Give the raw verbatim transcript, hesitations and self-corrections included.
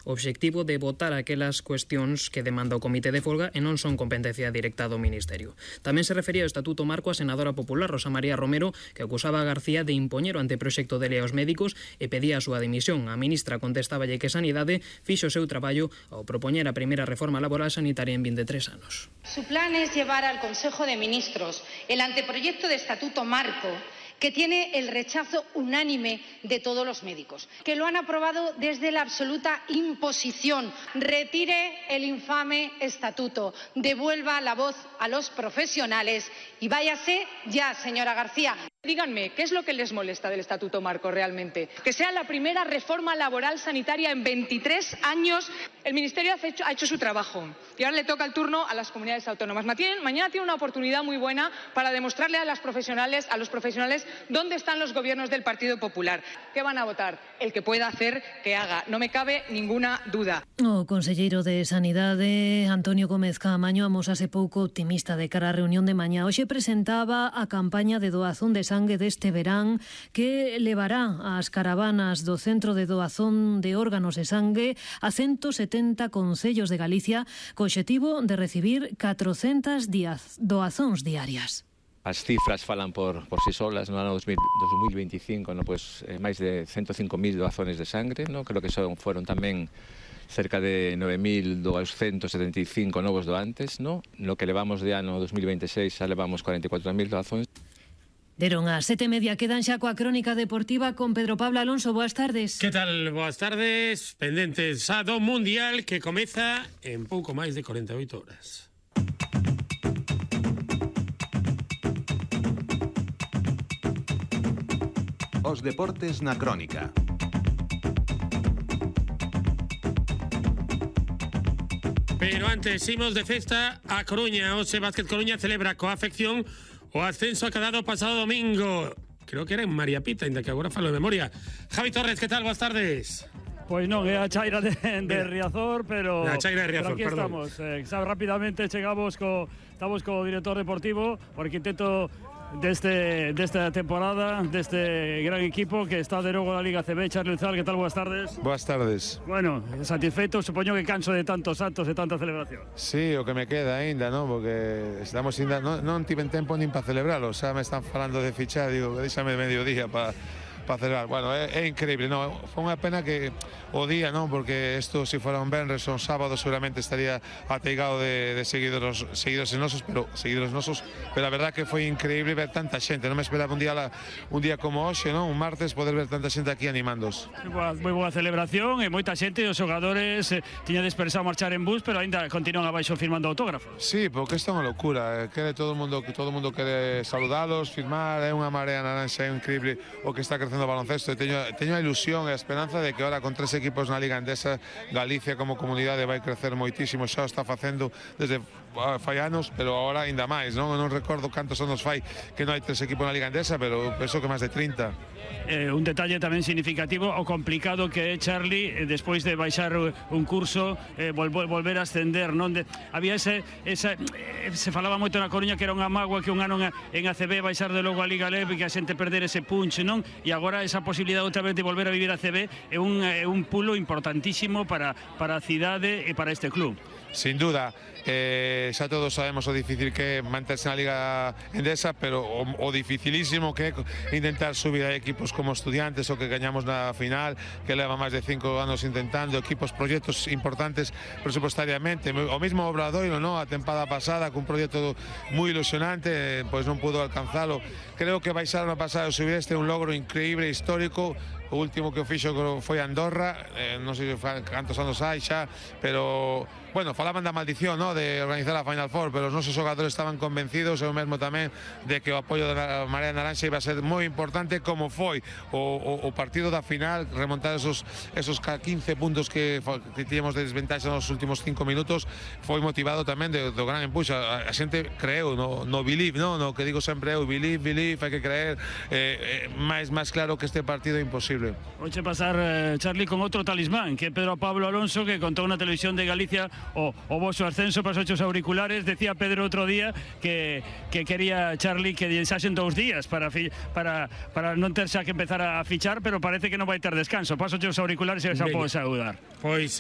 o obxectivo de votar aquelas cuestións que demanda o Comité de Folga e non son competencia directa do Ministerio. Tamén se refería ao Estatuto Marco a senadora popular Rosa María Romero, que acusaba a García de impoñer o anteproxecto de lei aos médicos e pedía a súa dimisión. A ministra contestáballe que Sanidade fixo o seu traballo ao propoñer a primeira reforma laboral sanitaria en vinte e tres anos. Su plan es llevar al Consejo de Ministros el anteproyecto de Estatuto Marco, que tiene el rechazo unánime de todos los médicos, que lo han aprobado desde la absoluta imposición. Retire el infame estatuto, devuelva la voz a los profesionales y váyase ya, señora García. Díganme, ¿qué es lo que les molesta del Estatuto Marco realmente? Que sea la primera reforma laboral sanitaria en veintitrés años. El Ministerio ha hecho, ha hecho su trabajo y ahora le toca el turno a las comunidades autónomas. Mañana tiene una oportunidad muy buena para demostrarle a las profesionales, a los profesionales dónde están los gobiernos del Partido Popular. ¿Qué van a votar? El que pueda hacer, que haga. No me cabe ninguna duda. O conselleiro de Sanidade, Antonio Gómez Caamaño, amosase pouco optimista de cara á reunión de mañá. Hoxe presentaba a campaña de doazón de sangue deste verán que levará as caravanas do Centro de Doazón de Órganos e Sangue a ciento setenta concellos de Galicia co obxectivo de recibir catrocentas doazóns diarias. As cifras falan por, por si solas. No ano dos mil veinticinco, no, pues, eh, máis de ciento cinco mil doazones de sangre, no? Creo que son, foron tamén cerca de nove mil doscientos setenta e cinco novos doantes, no? No que levamos de ano dos mil veintiséis xa levamos cuarenta e catro mil doazóns. Deron a sete e media, quedan xa coa crónica deportiva con Pedro Pablo Alonso. Boas tardes. Que tal? Boas tardes. Pendentes a do Mundial que comeza en pouco máis de corenta e oito horas. Os deportes na crónica. Pero antes, imos de festa a Coruña. Ose Básquet Coruña celebra coa afección o ascenso acadado pasado domingo. Creo que era en María Pita, ainda que agora falo de memoria. Javi Torres, que tal? Boas tardes. Pois non, é a chaira de, de Riazor, pero, a chaira de Riazor, pero aquí perdón. estamos. Eh, sabe, rápidamente chegamos co, estamos co director deportivo, o arquitecto deste, desta temporada, deste gran equipo que está de novo na Liga C B, Charlie Uzal. Que tal? Boas tardes. Boas tardes. Bueno, satisfeito, supoño que canso de tantos actos e tanta celebración. Sí, o que me queda aínda, non? Porque estamos ainda, non, non tiven tempo nin para celebralo, xa me están falando de fichar, digo, deixame mediodía para para celebrar. Bueno, é, é increíble, non? Foi unha pena que o día, non? Porque isto, se fora un venres ou un sábado, seguramente estaría ateigado de, de seguidores, seguidores nosos, pero seguidores nosos, pero a verdad que foi increíble ver tanta xente. Non me esperaba un día la, un día como hoxe, non? Un martes, poder ver tanta xente aquí animándos. Moi boa celebración e moita xente, os xogadores eh, tiña dispersado a marchar en bus, pero aínda continúan abaixo firmando autógrafos. Sí, porque isto é unha locura. Quere todo o mundo, que todo o mundo quere saludalos, firmar, é unha marea naranxa, é increíble o que está crecendo o baloncesto. Teño, teño a ilusión e a esperanza de que ahora con tres equipos na Liga Endesa, Galicia como comunidade vai crecer moitísimo. Xa o está facendo desde fai anos, pero agora ainda máis, non? Non recordo cantos anos fai que non hai tres equipos na Liga Endesa, pero penso que máis de trinta. Eh, un detalle tamén significativo o complicado que é, Charlie, eh, despois de baixar un curso, eh, vol, volver a ascender, non? De, había ese, esa, eh, se falaba moito na Coruña que era unha mágoa que un ano en, en A C B baixar de logo a Liga Leve e que a xente perder ese punch, non? E agora esa posibilidade outra vez de volver a vivir a C B é un, é un pulo importantísimo para, para a cidade e para este club. Sin duda, eh, xa todos sabemos o difícil que é manterse na Liga Endesa, pero o, o dificilísimo que é intentar subir a equipos como Estudiantes, o que gañamos na final, que leva máis de cinco anos intentando, equipos, proxectos importantes presupuestariamente. O mismo Obradoiro, no? A tempada pasada, cun proxecto moi ilusionante, pois non pudo alcanzalo. Creo que baixar no pasado e subir este é un logro increíble, histórico. O último que o fixo foi Andorra, eh, non sei cantos anos hai xa, pero, bueno, falaban da maldición, no? De organizar a Final Four, pero os nosos xogadores estaban convencidos, eu mesmo tamén, de que o apoio da Marea Naranxa iba a ser moi importante, como foi o, o, o partido da final, remontar esos, esos quince puntos que, que tíamos de desventaxa nos últimos cinco minutos, foi motivado tamén de, do gran empuxo. A, a xente creeu no, no believe, no? No que digo sempre eu, believe, believe, hai que creer, eh, eh, máis, máis claro que este partido é imposible. Oche pasar, eh, Charlie, con outro talismán, que é Pedro Pablo Alonso, que contou na televisión de Galicia o, o vosso ascenso para os ocho auriculares. Decía Pedro outro día que, que quería, Charlie, que deixasen dous días para, fi, para, para non ter xa que empezar a fichar, pero parece que non vai ter descanso. Paso os auriculares e xa podes saudar. Pois